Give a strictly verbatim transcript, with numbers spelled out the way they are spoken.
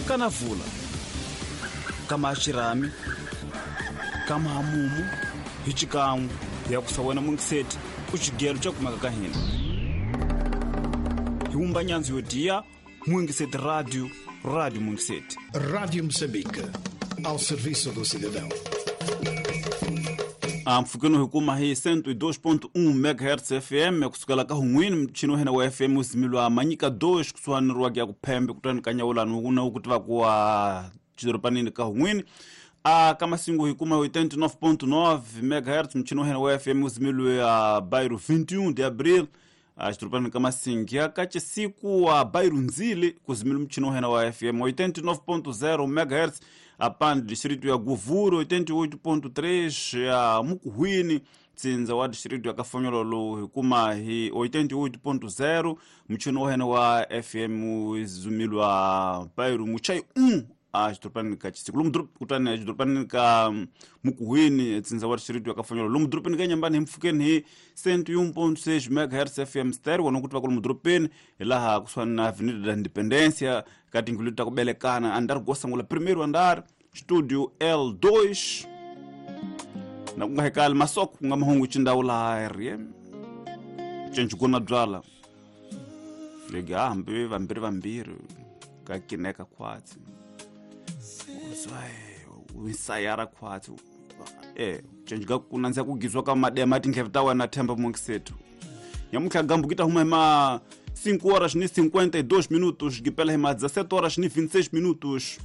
Kanavula kama xirhami kama hamumu hi xikan'we hi ya kusa wena mungiseti ku xigelo xa kumeka ka hina hi wumba nyandzu yo diya Mungiseti Radio, Rádio Mungiseti. Rádio Moçambique, ao serviço do cidadão. Mpfhukeni hi kuma hi cento e dois ponto um megahertz F M kusukela ka hun'wini muchini wa hina wa F M uzimilwa Manyika dois kusuhani ri wa ku phembe kutani ka nyawulani wuna wu ku tivaka wa xidoropanini ka hun'wini. A ka Masingu hi kuma hi oitenta e nove ponto nove megahertz muchini wa hina wa F M uzimilwe a bairro vinte e um de Abril a xidoropanini ka Masingi. Ya ka Chisiku a bairro Nzili kuzimilwe muchini wa hina wa F M oitenta e nove ponto zero megahertz apande distrito ya Govuro, oitenta e oito ponto três ya Mukuhwini tsindza wa distrito ya Kafonyololo hi kuma hi oitenta e oito ponto zero muchini wa hina wa F M zumilwa bairro Muchai um a xidoropanini ka Chisiku lomu dorob kutani xidoropanini ka Mukuhwini tsindza wa distrito ya Kafonyololo lomu doropeni ka Nyambani hi mpfhukeni hi cento e um ponto seis megahertz F M stereo wona ku tiva ku lomu doropeni hi laha kusuhani na Avenida da Independencia ka tindlu ta ku belekana andar go sangula primeiro andar studio L dois na ku nga hekali masoko ku nga mahungu xindawu laha R M cenci na byala legi hambi vambirhi vambirhi ka kineka khwatsi wisayara khwatsi e cenci ka ku nandziha ku gizwa ka madema tindleve ta wena themba mungisetu nyamuntlha gambu ki ta huma hi ma cinco horas ni cinquenta e dois minutos gipela hi ma dezessete horas ni vinte e seis minutos.